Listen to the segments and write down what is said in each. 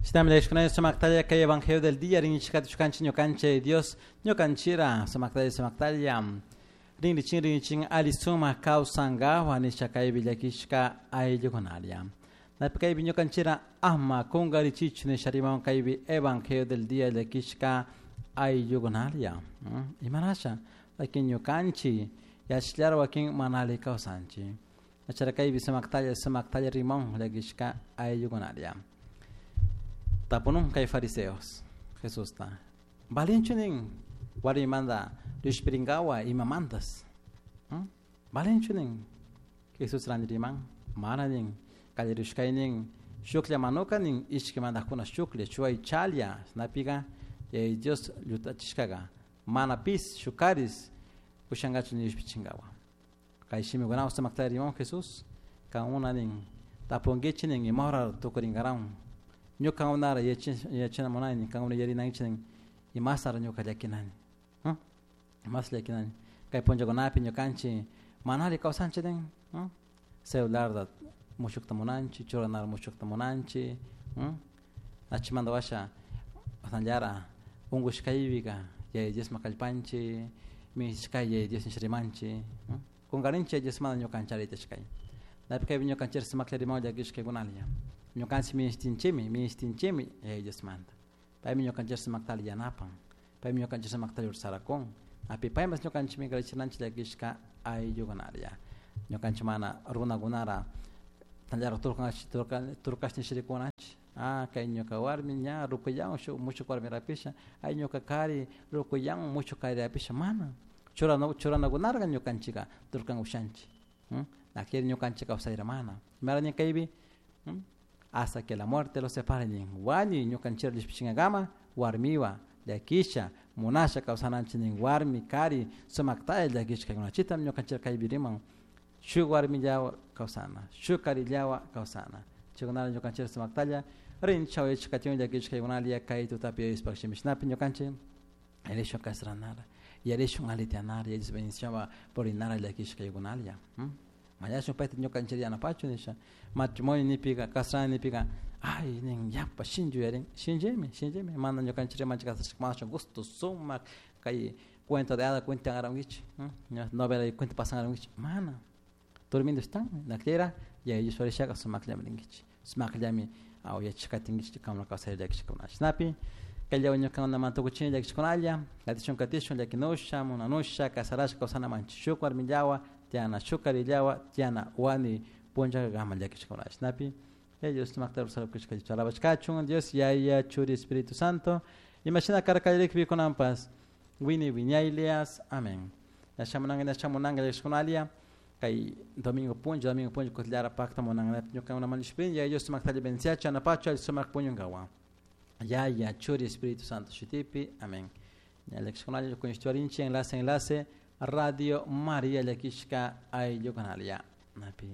Shinami sumaktalla kay evangelio del día rinchikati chukanchi ñukanchi Dios ñukanchira sumaktalla sumaktalla rinrichin rinrichin ali sumak kawsankawa nisha kaypi llakishka ayllukunalla. Napi kaypi ñukanchira ama kunkarichichu nisha rimawan kaypi evangelio del día llakishka ayllukunalla. Imarasha wakin ñukanchi yachallara wakin mana alli kawsanchik. Achara kaypi sumaktalla sumaktalla rimawan llakishka ayllukunalla. Tapunun kay fariseos Jesusta. Valinchu nin warmimanta rishpirinkawa imamantas. Valinchu nin Jesús riman mana nin kallarishkay nin shuklla manuka nin ishki mandajkuna shuklla chuay chalya shinapika Dios llutachishkaka mana pis shukaris ushankachu nishpichinkawa. Kay shimikunawan sumakta riman Jesús kankuna nin tapunkichik nin imahora tukurinkaran. Ñuka unara yachana munani kankuna yarinankichik nin imasara ñuka llakinani. Imas llakinani kay punllakunapi ñukanchik mana alli kawsanchik nin celularda mushukta munanchik churanara mushukta munanchik achimanta washa asnallara unkushkaypika Yaya Diosman kallpanchik minishkay Yaya Dios nisha rimanchik kunkarinchik Yaya Diosmanta ñukanchik alli napi kaypi ñukanchik sumaklla rimawan llakishkaykunalla. Ñukanchik minishtinchikmi minishtinchikmi Yaya Diosmanta paymi ñukanchik sumaktalla yanapan paymi ñukanchik sumaktalla ursarakun api paymas ñukanchikmi kallachinanchik llakishka ayllukunalla. Ñukanchik mana runakunara tallara turkash nishirikunanchik kay ñuka warmi ña rukuyan shuk mushuk warmi rapisha ay ñuka kari rukuyan mushuk kari rapisha mana churanakunarka ñukanchika turkan ushanchik nakiri ñukanchik kawsayra mana imarani kaypi hasta que la muerte los separe nin wañuy ñukanchik llishpichinkakama warmiwa llakisha munasha kawsananchik nin warmi kari sumaktalla llakishka kaykunachitam ñukanchik kaypi riman shuk warmillawa kawsana shuk karillawa kawsana chaykunata ñukanchik sumaktalla rinchaw yachakatiun llakishka kaykunalla kay tutapi yayashpa shimishnapi ñukanchik yarishun kasranara yarishun alitianara Yaya Dios bendicionwa purinara llakishka kaykunalla. Mañashun payta ñukanchik yanapachu nisha matrimonio nipika kasrana nipika ay nin yapa shinchu yarin shinchimi shinchimi mana ñukanchik rimanchik kasrashka mana gusto sumak kay cuento de hada cuentan arankichik novela cuento pasan arankichik mana durmiendo están naklera Yaya Dios warishaka sumakllami rinkichik sumakllami yachakatinkichik kankuna kawsay llakishkuna shinapi kayllawan ñukankunaman tukuchini llakishkunalla katishun katishun llakinusha munanusha kasarashka kawsanamanchik shuk warmillawa tiyana shuk karillawa tiyana wañuy punllakama llakishkuna shinapi Yaya Dios sumakta rurashka alabashkachun Dios Yaya Churi Espíritu Santo imashina karka kunanpas wini wiñaylias amén. Yashamunanka yashamunanka llakishkunalla kay domingo punlla kutllara pakta munanka ñukankunaman llishpin Yaya Dios sumaktalla bendiciachu anapachu alli sumak puñunkawan Yaya Churi Espíritu Santo shutipi amén. Llakishkunalla kuñishtuarinchik enlace enlace Radio María llakishka ayllukunalla napi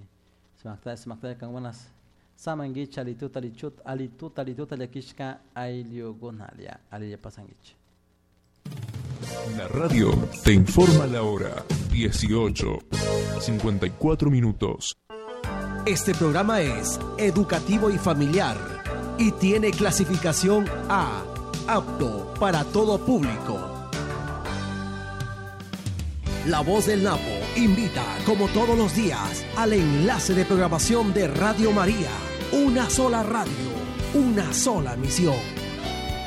sumaktalla sumaktalla kankunas samankichik alituta alichuta alituta alituta llakishka ayllukunalla alilla pasankichik. La radio te informa la hora 18:54 minutos. Este programa es educativo y familiar y tiene clasificación A, apto para todo público. La Voz del Napo invita, como todos los días, al enlace de programación de Radio María. Una sola radio, una sola misión.